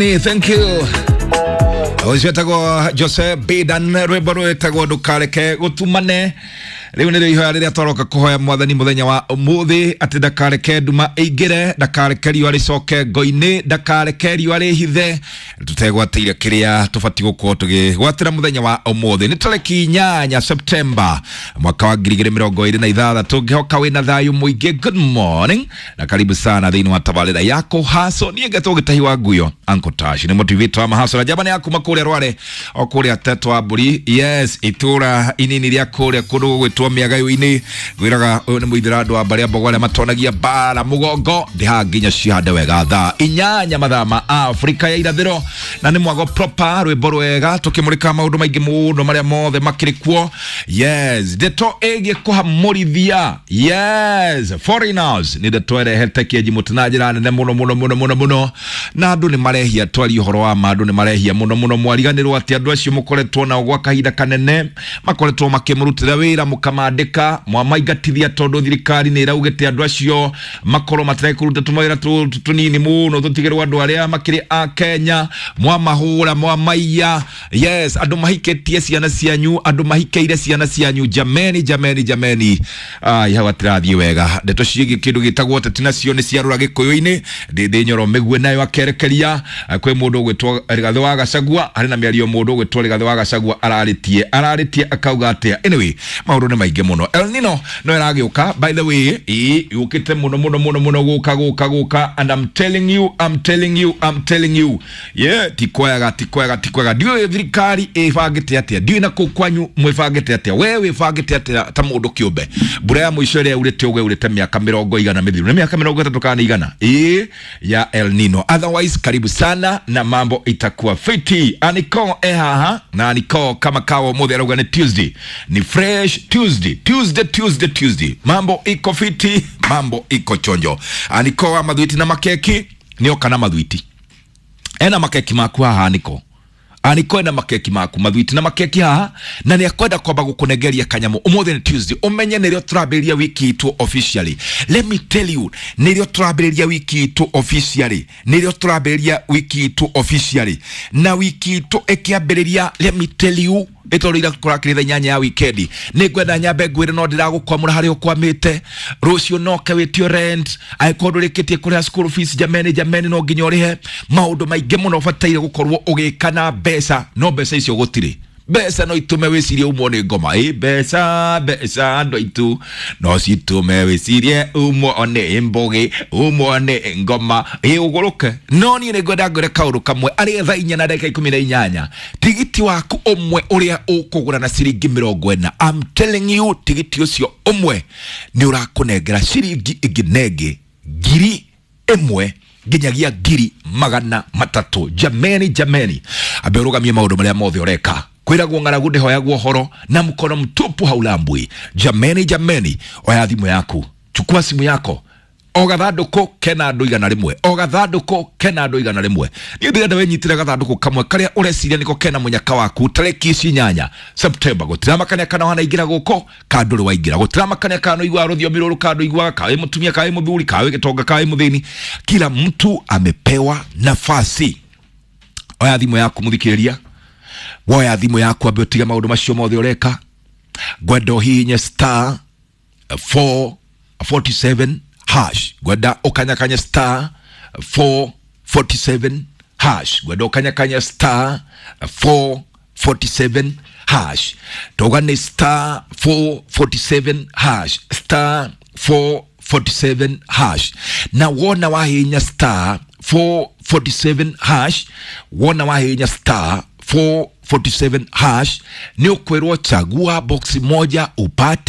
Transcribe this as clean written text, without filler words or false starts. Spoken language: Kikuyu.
Thank you. Ũcio etagwo Jose Bidan, rwĩmbo rwĩtagwo ndũkareke gũtumane. Rĩu nĩrĩo ihoya rĩrĩa twaroka kũhoya mwathani mũthenya wa ũmũthĩ, atĩ ndakareke nduma ĩingĩre, ndakareke riũa rĩcoke ngo-inĩ, ndakareke riũa rĩhithe, tũtegwatĩire kĩrĩa tũbatiĩ gũkorwo tũgĩgwatĩra mũthenya wa ũmũthĩ. Nĩ tarĩki 8 Septemba mwaka wa 2026. Ngĩhoka wĩna thayũ mũingĩ. Good morning na karibu sana thĩinĩ wa tabarĩra yako haso. Niĩ ngetwo Gĩtahi wa Nguyo, Uncle Tash nĩ motivator wa mahaso na njamba nĩ ya kuma kũrĩa Rware o kũrĩa Tetwa Mbũri, yes, itũra inini rĩa kũrĩa kũndũ gũgwĩtwo mĩagayo-inĩ. Ngwĩraga ũyũ nĩ mũithĩra andũ a mbarĩ a mbogo arĩa matonagia mbara mũgongo ndĩhaga nginya cihande wega thaa 8 mathaa ma Afrika ya irathĩro, na nĩ mwago proper, rwĩmbo rwega tũkĩmũrĩka maũndũ maingĩ mũno marĩa mothe makĩrĩ kuo. Yes, ndeto ĩgiĩ kũhamũrithia, yes, foreigners nĩ ndeto ĩrehete kĩenji mũtĩ na njĩra nene mũno mũno mũno mũno mũno, na andũ nĩ marehia, twarie ũhoro wa ma, andũ nĩ marehia mũno mũno. Mwariganĩrwo atĩ andũ acio mũkoretwo nao gwa kahinda kanene, makoretwo makĩmũrutĩra wĩra, mũkamandĩka, mwamaingatithia tondũ thirikari nĩ ĩraugĩte andũ acio makorwo matirekũruta tũmawĩra tũnini mũno tũtigĩrwo andũ arĩa makĩrĩ a Kenya. Mwamahũra, mwamaiya, yes, andũ mahikĩtie ciana cianyu, andũ mahikĩire ciana cianyu. Jameni, jameni, jameni, ai, hau atirathiĩ wega. Ndeto ciĩgiĩ kĩndũ gĩtagwo ũteti nacio nĩ ciarũra gĩkũyũ-inĩ. Ndĩndĩ Nyoro mĩgue nayo akerekeria kwĩ mũndũ ũgwĩtwo Rigathĩ wa Gachagua. Harĩ na mĩario mũndũ ũgwĩtwo Rigathĩ wa Gachagua ararĩtie akauga atĩa. Anyway, maũndũ nĩ maingĩ mũno. El Nino no ĩragĩũka, by the way, ĩĩ yũkĩte mũno mũno mũno mũno, gũka gũka gũka, and I'm telling you, I'm telling you, I'm telling you, yeah, ti kwega, ti kwega, ti kwega. Ndiũĩ thirikari ĩbangĩte atĩa, ndiũĩ na kũu kwanyu mwĩbangĩte atĩa, we wĩbangĩte atĩa ta mũndũ kĩũmbe. Mbura ya mũico ĩrĩa yaurĩte ũguo yaurĩte mĩaka mĩrongo igana mĩthiru, nĩ mĩaka 30 kana 100 ĩĩ ya El Nino. Otherwise, karibu sana na mambo itakuwa fiti. Aniko e haha na Aniko kama kawa ũmũthĩ arauga nĩ Tuesday, ni fresh Tuesday, Tuesday, Tuesday, Tuesday, mambo iko fiti, mambo iko chonjo. Aniko wa mathwiti na makeki nĩoka na mathwiti, ena makeki maku haha. Aniko, Aniko ena makeki maku, mathwiti na makeki haha, na nĩ akwenda kwamba gũkũnengeria kanyamũ. Ũmũthĩ nĩ Tuesday, ũmenye nĩrĩo tũrambĩrĩria wiki itũ officially. Let me tell you, nĩrĩo tũrambĩrĩria wiki itũ officially, nĩrĩo tũrambĩrĩria wiki itũ officially, na wiki itũ ĩkĩambĩrĩria, let me tell you, ĩtũrĩire kũrakĩrĩ thaa 8 ya wikendi. Nĩ ngwenda nyambe ngwĩre no ndĩragũkwamũra harĩa ũkwamĩte. Rũciũ noke wĩtio rent, angĩkorwo ndũrĩkĩtie kũrĩha school fees, jameni, jameni, no nginya ũrĩhe. Maũndũ maingĩ mũno ũbataire gũkorwo ũgĩka na mbeca, no mbeca icio gũtirĩ. Mbeca no itume wĩcirie umwo nĩ ngoma. Ĩ mbeca, mbeca andũ aitũ no citume wĩcirie umwo nĩ mbũgĩ, umwo nĩ ngoma, ĩ ũgũrũke. No niĩ nĩ ngwenda ngwĩre kaũndũ kamwe, arĩ thaa 4:18, tigiti waku ũmwe ũrĩa ũkũgũra na ciringi 40, I'm telling you, tigiti ũcio ũmwe nĩ ũrakũnengera ciringi ĩngĩ na ĩngĩ 1,000 nginyagia 300,000. Jameni, jameni, ambe ũrũgamie maũndũ marĩa mothe ũreka. Kwĩragwo ng'aragu ndĩhoyagwo ũhoro, na mkono mtupu haulambwi. Jameni, jameni, oya thimũ yaku, chukua simu yako. O gathandũkũ kena andũ 100, o gathandũkũ kena andũ 100. Niĩ ndĩrenda wĩnyitĩre gathandũkũ kamwe karĩa ũreciria nĩko kena mũnyaka waku. Tarĩki ici 8 Septemba, gũtiramakania kana wanaingĩra gũkũ kana ndũrĩ waingĩra, gũtiramakania kana ũiguaga rũthiomi rũrũ kana ndũiguaga, kana wĩ mũtumia kana wĩ mũthuri, kana wĩ gĩtonga kana wĩ mũthĩni, kila mtu amepewa nafasi. Oya thimũ yaku mũthikĩrĩria, woya thimũ yaku, ambe ũtige maũndũ macio mothe ũreka. Ngwenda ũhihinye star 447 hash, ngwenda ũkanyakanye star 447 hash, ngwenda ũkanyakanye star 447 hash. Tauga nĩ star 447 hash, star 447 hash. Na wona wahihinya star 447 hash, wona wahihinya star 447 hash, nĩ ũkwĩrwo chagua box moja upate.